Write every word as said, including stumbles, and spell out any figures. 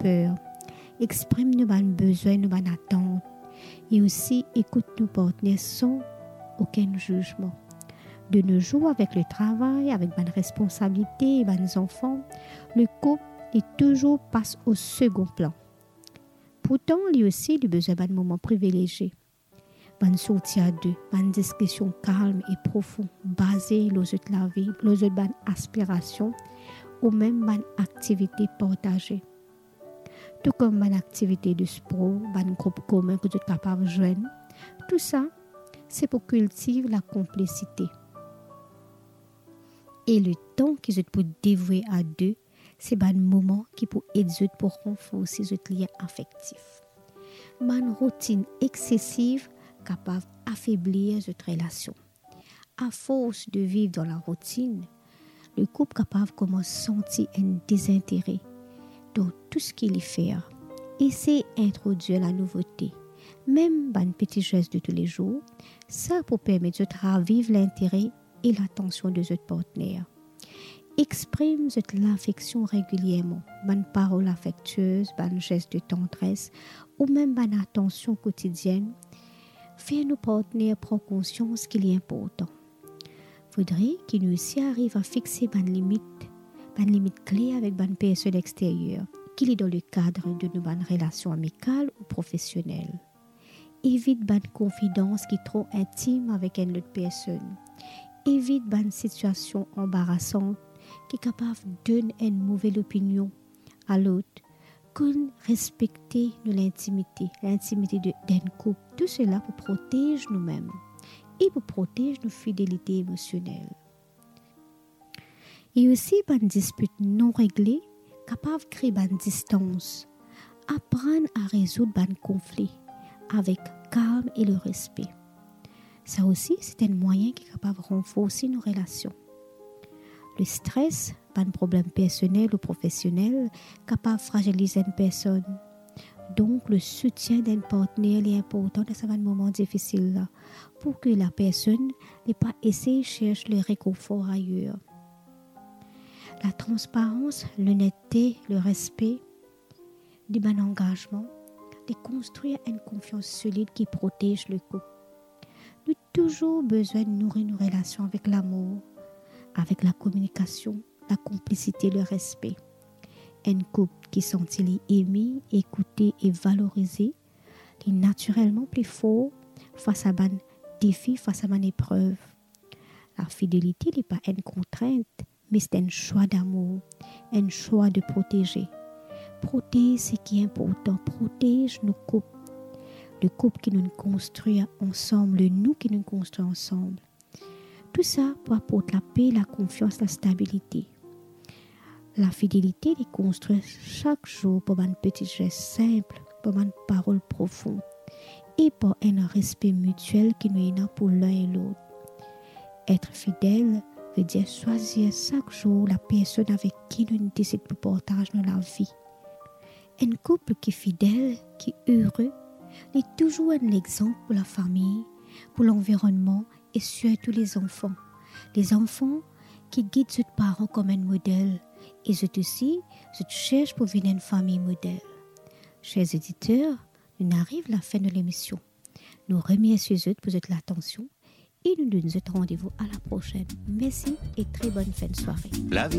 per, exprim nou bann bezwin, nou bann atant, e osi ekout nou partner san okenn zizman. De nos jours, avek letravay, avek bann responsabilite e bann zanfan, lekoup li touzour pas o segond plan. Pourtan, li osi, li bizin bann moman privilezie. Bann sorti a de, bann diskision kalm e profon, baze lor zot lavi, lor zot bann aspirasion, ou mem bann aktivite partaze. Tou kom bann aktivite de spor, bann group komin kot zot kapav zwenn. Tou sa, se pou kiltiv lakonplisite. E letan ki zot pou devoue a de, se bann moman ki pou ed zot pou ranforse zot lien afektif. Bann routinn eksesiv kapav afeblir zot relasion. Afors de viv dan laroutinn, lekoup kapav koumans santi enn dezintere dan tou seki li fer. Esey introdwir lanouvote, mem bann peti zes de toulezour, sa pou permet zot raviv lintere e latansion de zot partner. Exprim zot lafeksion regilierman, bann parol afektiez, bann zes de tandres ou mem bann atansion kotidienn. Fer nou partner pran konsians ki li inportan. Fodre ki nou osi ariv a fixe bann limit, bann limit kler avek bann personn exteryer, ki li dan lekad de nou bann relasion amikal ou profesionel. Evit bann konfidans ki tro intim avek enn lot personn. Evit bann sitiasion anbarasan ki kapav donn enn move lopinion a lot. Konn respekte nou lintimite, lintimite de, d'enn koup. Tou sela pou protez noumem e pou protez nou fidelite emosionel. E osi, bann dispit non regle kapav kre bann distans. Aprann a rezoud bann konfli avek kalm e lerespe. Sa osi, se enn mwayin ki kapav ranforse nou relasion. Lestres, bann problem personel ou profesionel kapav fraziliz enn personn. Donk, lesoutien d'enn partner, li inportan dan sa bann moman difisil la, pou ki lapersonn li pa esey sers lerekonfor ayer. Latransparans, lonerte, lerespe de bann angazman, li konstrir enn konfians solid ki protez lekoup. Nou touzour bizin nouri nou relasion avek lamour, avek lakominikasion, lakonplisite, lerespe. Enn koup ki santi li eme, ekoute e valorize, li natirelman pli for fas a bann defi, fas a bann eprev. Lafidelite, li pa enn kontrint, me se enn swa damour, enn swa de proteze. Protez seki inportan, protez nou koup. Lekoup ki nou konstrir ansam, lenou ki nou konstrir ansam. Tou sa pou aport lape, lakonfians, lastabilite. Lafidelite, li konstrir sak zour par bann peti zes sinp, par bann parol profon e par enn respe mitiel ki nou ena pou lin e lot. Etre fidel ve dir swazir sak zour lapersonn avek ki nou desid pou partaz nou lavi. Enn koup ki fidel, ki ere, li touzour enn lexanp pou lafami, pou lanvironnman e sirtou lezanfan. Lezanfan ki gid zot paran kom enn model e zot osi, zot sers pou vinn enn fami model. Ser oditer, nou ariv lafin de lemision. Nou remersie zot pou zot latansion e nou donn zot randevou a laprosenn. Mersi e tre bonn fin de sware. Lavi